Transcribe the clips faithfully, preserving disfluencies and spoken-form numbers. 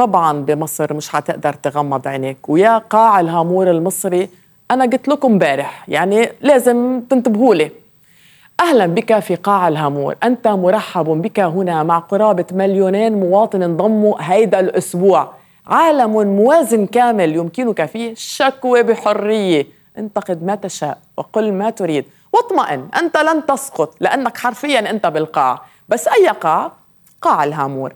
طبعا بمصر مش هتقدر تغمض عينيك، ويا قاع الهامور المصري أنا قلت لكم امبارح يعني لازم تنتبهوا لي. أهلا بك في قاع الهامور، أنت مرحب بك هنا مع قرابة مليونين مواطن انضموا هيدا الأسبوع. عالم موازن كامل يمكنك فيه الشكوى بحرية، انتقد ما تشاء وقل ما تريد واطمئن، أنت لن تسقط لأنك حرفيا أنت بالقاع. بس أي قاع؟ قاع الهامور.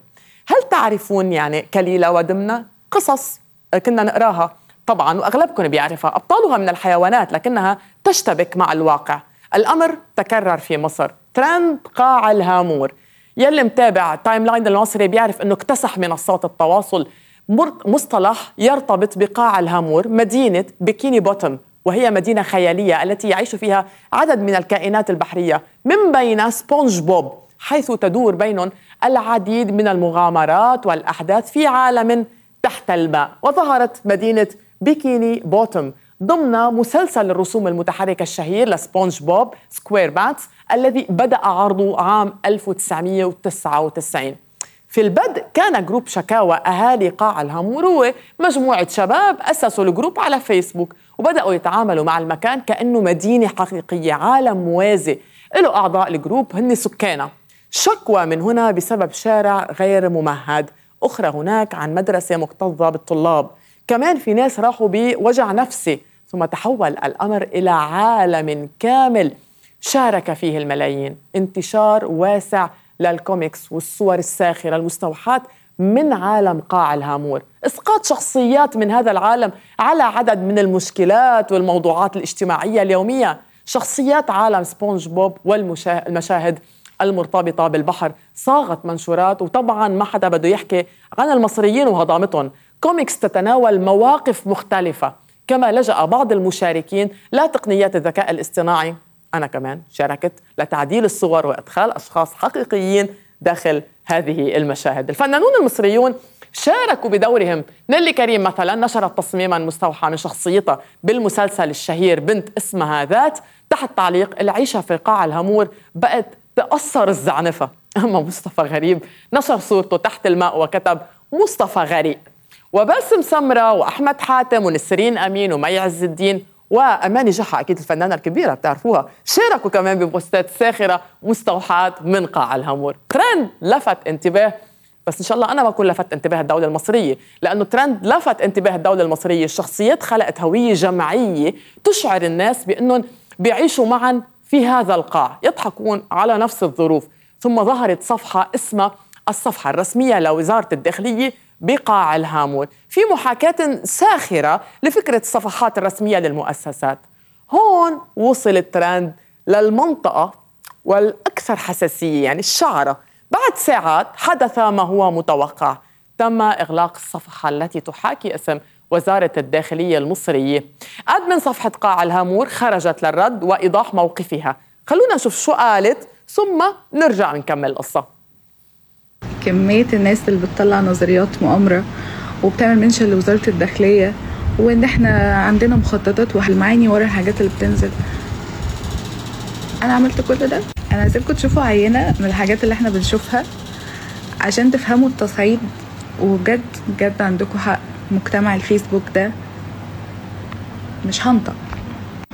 هل تعرفون يعني كليلة ودمنة؟ قصص كنا نقراها طبعا وأغلبكم بيعرفها، أبطالها من الحيوانات لكنها تشتبك مع الواقع. الأمر تكرر في مصر، ترند قاع الهامور. يلي متابع تايم لاين المصري بيعرف أنه اكتسح منصات التواصل مصطلح يرتبط بقاع الهامور، مدينة بيكيني بوتوم، وهي مدينة خيالية التي يعيش فيها عدد من الكائنات البحرية من بين سبونج بوب، حيث تدور بينهم العديد من المغامرات والأحداث في عالم تحت الماء. وظهرت مدينة بيكيني بوتوم ضمن مسلسل الرسوم المتحركة الشهير لسبونج بوب سكوير بانس الذي بدأ عرضه عام ألف وتسعمئة وتسعة وتسعين. في البدء كان جروب شكاوى أهالي قاع الهامور، هو مجموعة شباب أسسوا الجروب على فيسبوك وبدأوا يتعاملوا مع المكان كأنه مدينة حقيقية، عالم موازي له أعضاء الجروب هن سكانه. شكوى من هنا بسبب شارع غير ممهد، أخرى هناك عن مدرسة مكتظة بالطلاب، كمان في ناس راحوا بوجع نفسي، ثم تحول الأمر إلى عالم كامل شارك فيه الملايين. انتشار واسع للكوميكس والصور الساخرة المستوحاة من عالم قاع الهامور، إسقاط شخصيات من هذا العالم على عدد من المشكلات والموضوعات الاجتماعية اليومية. شخصيات عالم سبونج بوب والمشاهد المرتبطة بالبحر صاغت منشورات، وطبعا ما حدا بده يحكي عن المصريين وهضامتهم. كوميكس تتناول مواقف مختلفة، كما لجأ بعض المشاركين لتقنيات الذكاء الاصطناعي، أنا كمان شاركت، لتعديل الصور وإدخال أشخاص حقيقيين داخل هذه المشاهد. الفنانون المصريون شاركوا بدورهم. نيلي كريم مثلا نشرت تصميما مستوحى من شخصيتها بالمسلسل الشهير بنت اسمها ذات، تحت تعليق العيشة في قاع الهامور بقت تأثر الزعنفة. أما مصطفى غريب نشر صورته تحت الماء وكتب مصطفى غريق. وباسم سمرة وأحمد حاتم ونسرين أمين ومي عز الدين وأماني جحا، أكيد الفنانة الكبيرة بتعرفوها، شاركوا كمان ببوستات ساخرة مستوحاة من قاع الهامور. ترند لفت انتباه، بس إن شاء الله أنا ما أكون لفت انتباه الدولة المصرية، لأنه ترند لفت انتباه الدولة المصرية. الشخصيات خلقت هوية جماعية تشعر الناس بأنهم بيعيشوا معا في هذا القاع، يضحكون على نفس الظروف. ثم ظهرت صفحة اسمها الصفحة الرسمية لوزارة الداخلية بقاع الهامور، في محاكاة ساخرة لفكرة الصفحات الرسمية للمؤسسات. هون وصل الترند للمنطقة والأكثر حساسية، يعني الشعرة. بعد ساعات حدث ما هو متوقع، تم إغلاق الصفحة التي تحاكي اسم وزارة الداخلية المصرية. أدمن صفحة قاع الهامور خرجت للرد وإيضاح موقفها. خلونا نشوف شو قالت ثم نرجع نكمل القصة. كمية الناس اللي بتطلع نظريات مؤامرة وبتعمل منشن لوزارة الداخلية، وإن إحنا عندنا مخططات والمعاني ورا الحاجات اللي بتنزل. أنا عملت كل ده. أنا عايزاكم تشوفوا عينة من الحاجات اللي إحنا بنشوفها عشان تفهموا التصعيد، وبجد بجد عندكم حق. مجتمع الفيسبوك ده مش هنطق.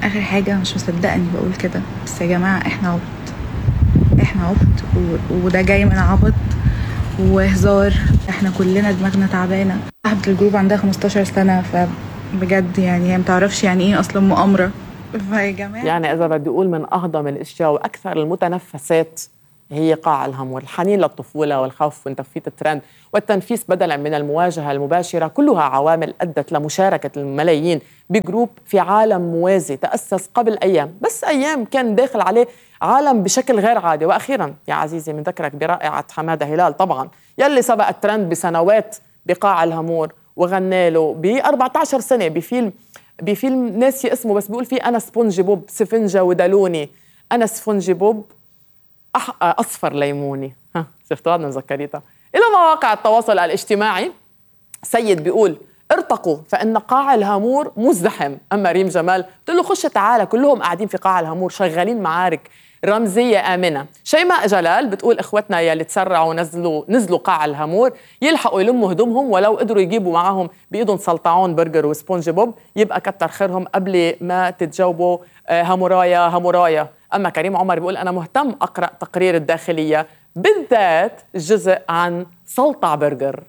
آخر حاجة، مش مصدقني بقول كده، بس يا جماعة إحنا عبط، إحنا عبط، وده جاي من عبط وهزار. احنا كلنا دماغنا تعبانه. صاحبه الجروب عندها خمستاشر سنه، فبجد يعني هي متعرفش يعني ايه اصلا مؤامره. فيا جماعه يعني اذا بدي اقول من اهضم الاشياء واكثر المتنفسات هي قاع الهامور. الحنين للطفوله والخوف من تفويت الترند والتنفيس بدلا من المواجهه المباشره، كلها عوامل ادت لمشاركه الملايين بجروب في عالم موازي تاسس قبل ايام، بس ايام كان داخل عليه عالم بشكل غير عادي. واخيرا يا عزيزي بنذكرك برائعه حماده هلال، طبعا يلي سبق الترند بسنوات بقاع الهامور وغنى له ب أربعة عشر سنه بفيلم بفيلم ناسي اسمه، بس بيقول فيه انا سفنج بوب سفنجه ودلوني، انا سفنج بوب أح... اصفر ليموني. ها شفتوا هذا مذكريتها. الى مواقع التواصل الاجتماعي سيد بيقول ارتقوا فإن قاع الهامور مزدحم. أما ريم جمال بتقول له خش تعالى، كلهم قاعدين في قاع الهامور شغالين معارك رمزية آمنة. شيماء جلال بتقول إخوتنا يلي تسرعوا ونزلوا نزلوا قاع الهامور يلحقوا يلموا هدومهم، ولو قدروا يجيبوا معهم بإيدهم سلطعون برجر وسبونج بوب يبقى كتر خيرهم قبل ما تتجاوبوا هامورايا هامورايا. أما كريم عمر بيقول أنا مهتم أقرأ تقرير الداخلية بالذات الجزء عن سلطع برجر.